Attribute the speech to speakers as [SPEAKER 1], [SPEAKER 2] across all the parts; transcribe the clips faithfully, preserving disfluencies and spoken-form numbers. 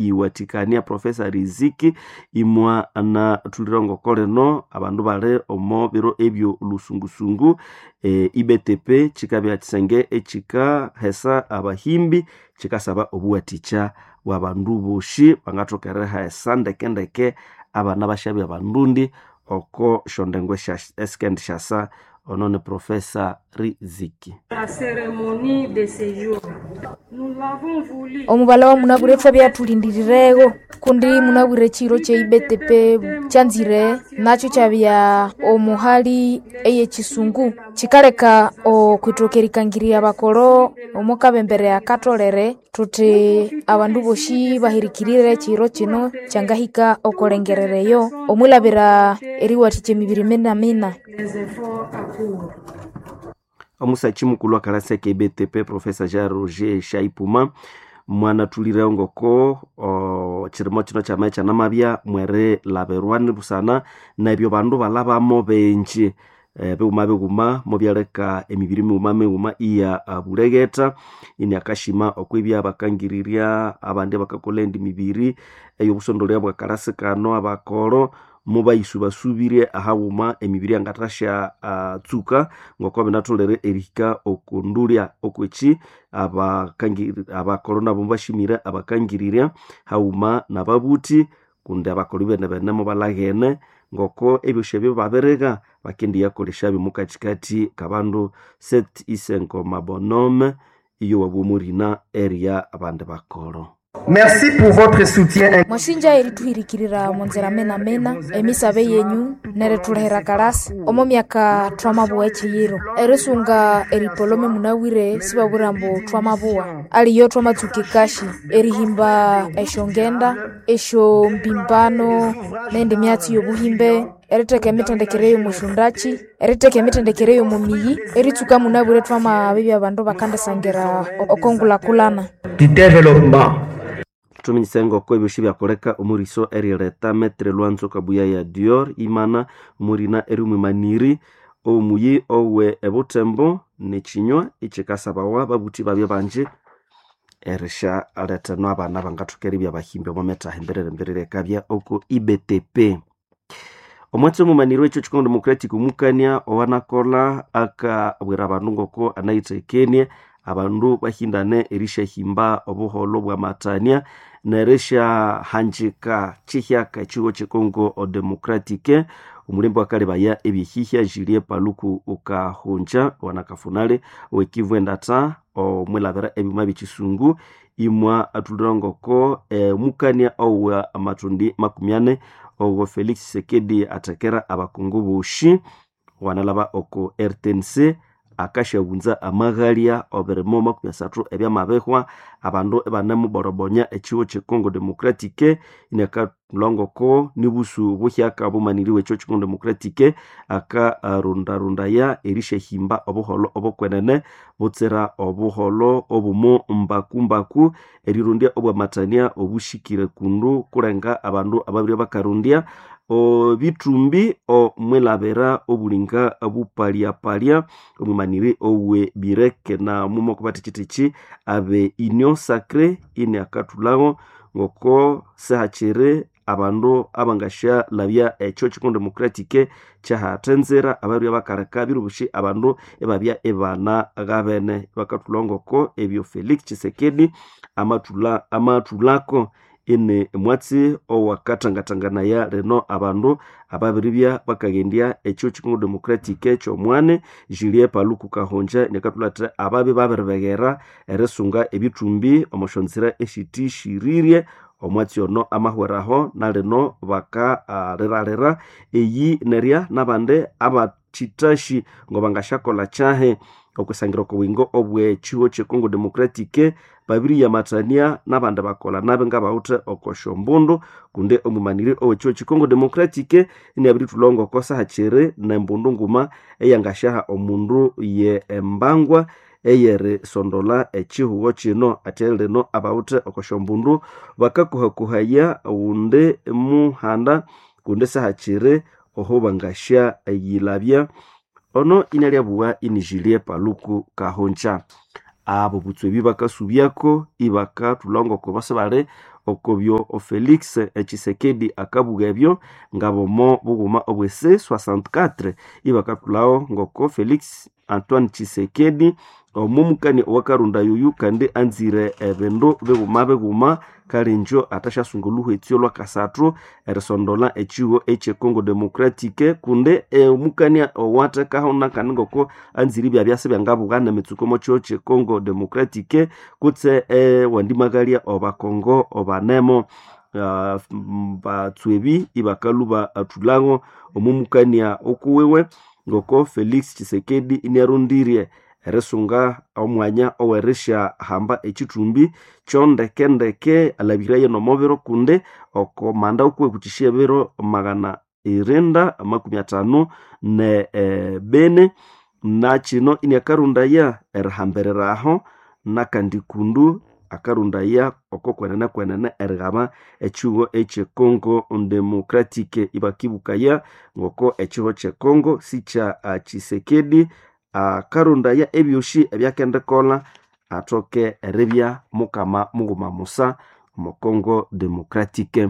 [SPEAKER 1] eriyiwathikania Profesa Riziki imwa anathulira ngoko lino abandu bali omo biro ebyo lusungusungu e, I B T P kikabya kisenge ekikahesa abahimbi kikasaba obuwathikya bw'abandu bosi bangathoka erihesa ndekendeke abana bashabya abandundi oko syondengo esikendishasa. Ono ni Profesa Riziki.
[SPEAKER 2] La cérémonie de ce jour. Nous l'avons voulu.
[SPEAKER 3] Omubala wa munabwire thwabya kundi munabwire chiro che I B T P kyanzire nakyo kyabya omuhali eyekisungu kikaleka okwithoka erikangirya bakolo omukabembere akatolere thuthi abandu bosi bahirikirire chiro kino kyangahika okolengerereyo omwilabira eriwathikya emibiri minamina.
[SPEAKER 2] Les efforts à court.
[SPEAKER 1] Omusachi mukulu akalasa ke I B T P Profesa Jean Roger Shaipuma mwanathulire ngoko chirimo kino kyamaye kyanamabya mweri laberwani busana nebyo bandu balabamo benji e, bighuma bighuma mubyaleka emibiri mighuma mighuma iya bulegheta ini akashima okwibya bakangirirya abandi bakakola endi mibiri ey'obusondolya bwa kalasi kano abakolo mubayisubasubirye ahaghuma emibiri yangathasya uh, tsuka ngoko binatholere erihika okundulya okweki abakolo nabo mubashimire abakangirirya haghuma nababuthi kundi abakolo bene bene mubalaghene ngoko ebyosi ebyo babiriga bakendiyakolesya mukathikathi kabandu Set Isenkoma Bonhomme iyo wabumurina erya abandi bakolo.
[SPEAKER 4] Merci pour votre soutien.
[SPEAKER 3] Mwasinja erituhirikirira omunzira mena-mena emisabe yenyu neritulehera kalasi omo myaka twamabuwa ekiyiro erisunga eripolome munabwire sibabwira mbu twamabuwa aliyo twamatsuka ekashi erihimba esyongenda esyombimbano nendi myatsi yobuhimbe eritheka emithendekere yomusyondaki eritheka emithendekere yomumiyi eritsuka munabwire twamabibya abandu bakandisangira okongulhakulhana.
[SPEAKER 4] Du développement.
[SPEAKER 1] Thuminyise ngoko ebyosi byakoleka omuriso erileta Metre Lwanzo Kabuya ya Dior imana omurina erimwimaniri omuyi owe ebutembo nekinywa ekikasabawa babuthi babya banji erisyalethenwa abana bangathoka eribya bahimbi omo methaha emberere emberere ekabya oko I B T P. Omwatsi omumaniri w'ekyo Congo Democratic omukania owanakolha akabwira abandu ngoko anayithekenie abandu bahindane erisyahimba obuholho bwamathania nerisyahanjika kyihyaka ekigo kye Congo Democratic. Omulembe wakalebaya ebyehihya Julie Paluku Ukahunja wanakafunale owekivu endatha omwilabira ebyuma byekisungu imwa athulira ngoko omukania owa amathundi makumi ane owo Felix Tshisekedi athekera abakungu bosi wanalaba oko R T N C akashabunza amaghalya obirimo makumi asathu ebyamabihwa abandu ibanemuborobonya ekigo kye Congo Democratic inakathulha nibusu buhyaka bumaniriwe ekyo Congo Democratic akarundarundaya erisyahimba obuholho obukwenene butsira obuholho obumu mbakumbaku erirundya obwamathania obushikire kundu kulenga abandu ababiri bakarundya obithumbi omwilabira obulinga bupalyapalya omwimaniri owe bireke na mumo kubathikithiki abe Union Sacrée ini akathulhago ngoko sihakiri abandu abangasyalabya ekyo Congo Democratic kyahathenzera ababirya bakaleka birubushi abandu ibabya ibana gabene bakathulha ngoko ebyo Felix Tshisekedi amathulha amathulhako ini mwatsi owakathangathanganaya lino abandu ababiribya bakaghendya ekyo Congo Democratic kyomwane Julie Paluku Kahonja nekathulhatha ababi babiribeghera erisunga ebithumbi omosyonzira esithishirire omwatsi ono amahweraho nalino bakaliralira eyi nerya nabandi abathithashi ngobangasyakolha kyahi okwisangira okobuyingo obw'ekigo kye Congo Democratic babiriyamathania nabandi bakolha nabi ngabawithe okosyombundu kundi omwimaniri ow'ekigo kye Congo Democratic iniabirithulha ngoko sahakiri nembundu nguma eyangasyaha omundu ye embangwa eyerisondola ekihugho kino ate lino abawithe okosyombundu bakakuhakuhaya wundi muhanda kundi sahakiri oho bangasya yilabya ono inalyabugha ini Julie Paluku Kahonja. Abo butswebi bakasubyako ibakathulha ngoko base bali Okobyo Felix Tshisekedi akabuga ebyo ngabomo bughuma obwe C sessante-quatre ibakatulawo ngoko Felix Antoine Tshisekedi omumukani owakarunda yuyu kandi anzire ebindu bighuma bighuma kalinjo atashasunga oluhwetsi olwakasathu erisondola echiwo eche Congo Democratique kundi omukani owathekaho nakandi ngoko anzire ibyabyasi byangabughana emitsuko omo chiwo che Congo Democratique kutse ewandimagalya obakongo obanemo. Uh, batswebi ibakalhuba athulhago omumukania okuwiwe ngoko Felix Tshisekedi iniarundirye erisunga omwanya owerisya hamba ekithumbi kyondekendeke alabiraye nomubiro kundi oko manda okuwe kukyisya ebiro magana irinda amakumi athanu ne e, bene nakino iniakarundaya erihambirira aho nakandi kundu akarundaya oko kwenene kwenene erighaba ekihugo ekye Congo Democratique ibakibukaya ngoko ekihugo kye Congo sikya Tshisekedi akarundaya ebyosi ebyakendikolha athoke eribya mukama mughuma musa omo Congo Democratique.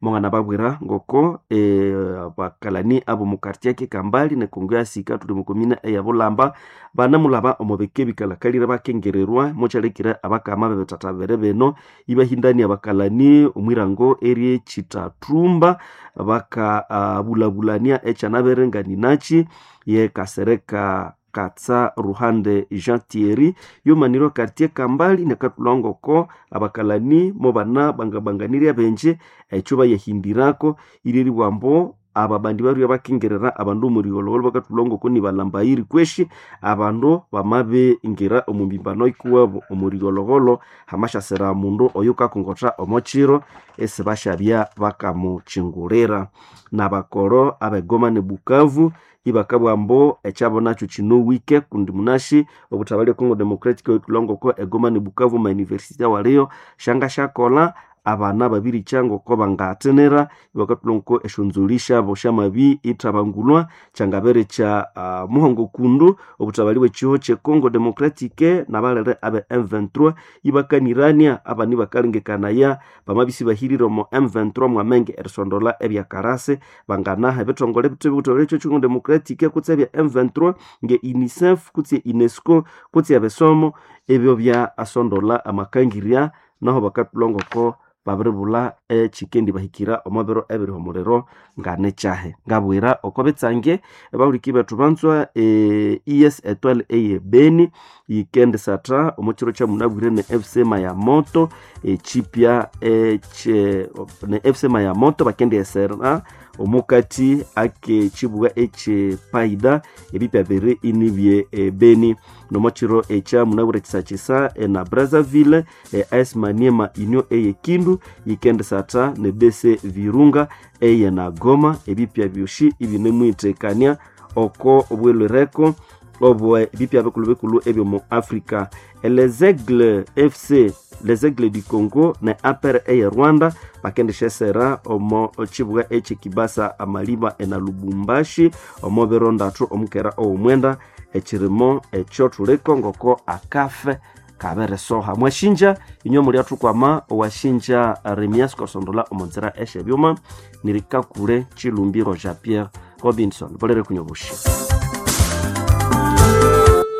[SPEAKER 1] Monganababwira ngoko e, abakalani abomu quartier kikambali ne Congo yasika thuli mu komine eya Bulamba banamulaba omo bika ebikalakalire bakengererwa mukyalekire abakama bebithatha bibiri bino ibahindania abakalani omwirango erye Kitatumba bakabulabulania uh, ekyanabere nganinaki ye Kasereka Katsa Ruhande Jean Thierry yomanirwa quartier Kambali nekatulangoko abakalani mobana bangabanganirya benje ekyo bayahindirako iryeribwambo aba bandi barya bakengerera abandu omurigholhogholho bakatulangoko nibalambayiri kweshi abandu bamabingira omu mbimbano ikuwabo omurigholhogholho hamasyasira mundu oyukakongotha omo kiro esibasyabya bakamukyingulira. Nabakoro abegoma ne Bukavu ibakabugha ambu ekyabo nakyo kinowike kundi munashi obuthabali e Congo Democratic oyutulangoko egoma ne Bukavu ma university awaliyo syangasyakolha abana babirikya ngoko bangathenera ibakathulha esyonzolhi syabo syamabi ithabangulwa kyangabere kya uh, muhongo kundu obuthabali bw'ekiho kye Congo Democratique nabalere abe M twenty-three ibakanirania abani bakalengekanaya bamabisi bahirire omo M twenty-three mwamenge erisondola ebyakarasi banganaha ebithongole bithe ekyo Congo Democratique kutse ebya M twenty-three nge UNICEF kutse UNESCO kutse ebisomo ebyo bya asondola amakangirya naho bakathulha ngoko babiribulha ekikendi bahikira omo biro ebiri omuliro nganekyahe. Ngabwira oko bitsange ebahuliki bethu banzwa e, E S Etoile eye Beni yikendisatha omo kiro kyamunabwire ne F C Mayamoto ekipya ekye ne F C Mayamoto bakendyesera omukati akekibuga ekye Paida ebipya biri inibye e, Beni nomo kiro ekyamunabwire kisakisa na Brazzaville e, A S Maniema Union eye Kindu yikendisatha ne D C Virunga eye na Goma ebipya byosi ibinemwitekania oko obwelwereko obwe ebipya bikulu bikulu ebyo mu Africa. Les Aigles F C Les Aigles du Congo ne A P R eye Rwanda bakendishesera omo kibuga ekye Kibasa Amaliba ena Lubumbashi omo biro ndathu omukera owomwenda ekirimo ekyo thuliko ngoko akafe kaberesoha. Mwashinja inywe muli athukwama owashinja Remias kosondola omonzira esyebyuma nirikakule Chilumbiro Jean Pierre Robinson bolere kunyobushi.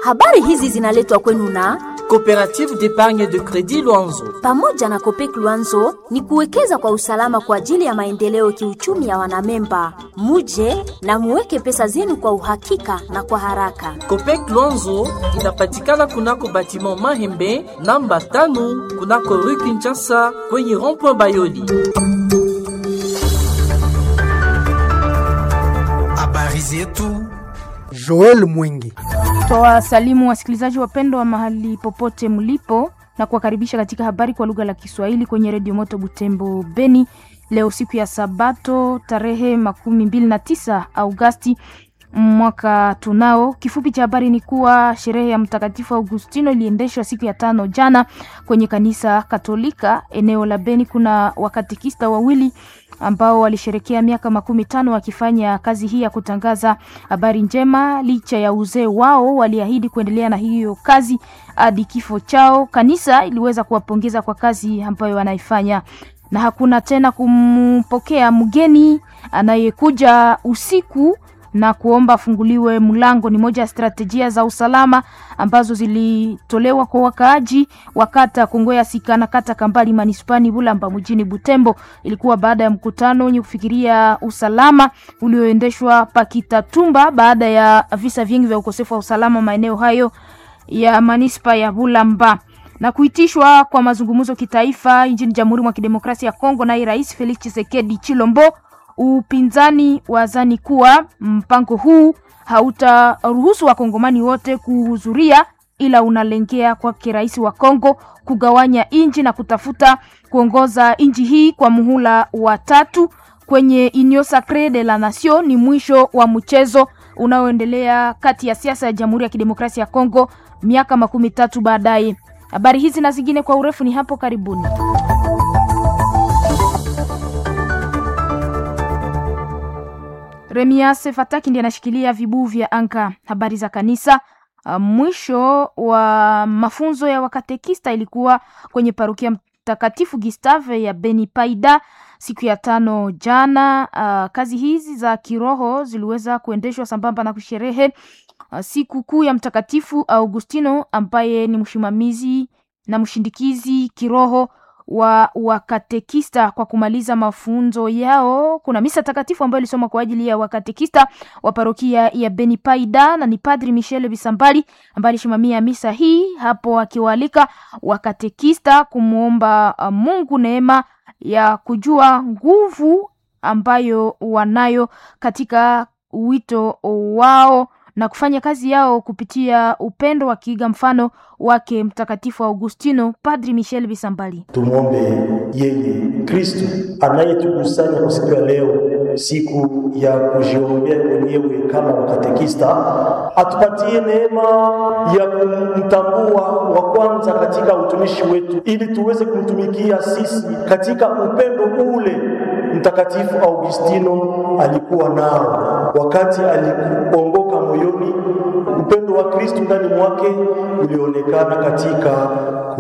[SPEAKER 5] Habari hizi zinaletwa kwenu na
[SPEAKER 6] Coopérative d'épargne de crédit Luanzo.
[SPEAKER 5] Pamoja na Copec Luanzo ni kuwekeza kwa usalama kwa ajili ya maendeleo kiuchumi ya wanamemba. Muje na muweke pesa zenu kwa uhakika na kwa haraka.
[SPEAKER 6] Copec Luanzo inapatikana kunako batiment Mahembe namba tano kunako Rue Kinshasa kwenye rond-point Bayoli.
[SPEAKER 7] Habari zetu Joel Mwingi.
[SPEAKER 3] Twawasalimu wasikilizaji wapendwa wa mahali popote mlipo na kuwakaribisha katika habari kwa lugha la Kiswahili kwenye Redio Moto Butembo Beni. Leo siku ya Sabato tarehe makumi mbili na tisa Agosti mwaka tunao. Kifupi cha habari ni kuwa sherehe ya Mtakatifu Augustino iliendeshwa siku ya tano jana kwenye kanisa Katolika eneo la Beni. Kuna wakatekista wawili ambao walisherekea miaka makumi tano wakifanya kazi hii ya kutangaza habari njema. Licha ya uzee wao, waliahidi kuendelea na hiyo kazi hadi kifo chao. Kanisa iliweza kuwapongeza kwa kazi ambayo wanaifanya. na hakuna tena kumpokea mgeni anayekuja usiku na kuomba afunguliwe mlango. Ni moja ya strategia za usalama ambazo zilitolewa kwa wakaaji wa kata Kongoya Sika na kata Kambali manispani Bulamba mjini Butembo. Ilikuwa baada ya mkutano wenye kufikiria usalama ulioendeshwa Pakitatumba baada ya visa vingi vya ukosefu wa usalama maeneo hayo ya manispa ya Bulamba na kuitishwa kwa mazungumzo kitaifa nchini Jamhuri mwa Kidemokrasia ya Kongo naye Rais Felix Tshisekedi Chilombo. Upinzani wazani kuwa mpango huu hautaruhusu wakongomani wote kuhudhuria, ila unalengea kwake rais wa Kongo kugawanya nchi na kutafuta kuongoza nchi hii kwa muhula wa tatu kwenye Union Sacree de la Nation. Ni mwisho wa mchezo unaoendelea kati ya siasa ya Jamhuri ya Kidemokrasia ya Kongo miaka makumi tatu baadaye. Habari hizi na zingine kwa urefu ni hapo karibuni. Remias Fataki ndiye anashikilia vibuu vya anka. Habari za kanisa. Mwisho wa mafunzo ya wakatekista ilikuwa kwenye parokia Mtakatifu Gustave ya Beni Paida siku ya tano jana. Uh, kazi hizi za kiroho ziliweza kuendeshwa sambamba na kusherehe uh, siku kuu ya Mtakatifu Augustino ambaye ni msimamizi na mshindikizi kiroho wa wakatekista. Kwa kumaliza mafunzo yao, kuna misa takatifu ambayo ilisoma kwa ajili ya wakatekista wa parokia ya Beni Paida, na ni Padri Michel Bisambali ambaye alisimamia misa hii hapo, akiwaalika wakatekista kumwomba Mungu neema ya kujua nguvu ambayo wanayo katika wito wao na kufanya kazi yao kupitia upendo wakiiga mfano wake Mtakatifu Augustino. Padri Michel Bisambali:
[SPEAKER 8] Tumwombe yeye Kristu anayetukusanya kwa siku ya leo, siku ya kujiombea wenyewe kama wakatekista, atupatie neema ya kumtambua wa kwanza katika utumishi wetu, ili tuweze kumtumikia sisi katika upendo ule Mtakatifu Augustino alikuwa nao wakati alikuongoka moyoni. Upendo wa Kristu ndani mwake ulionekana katika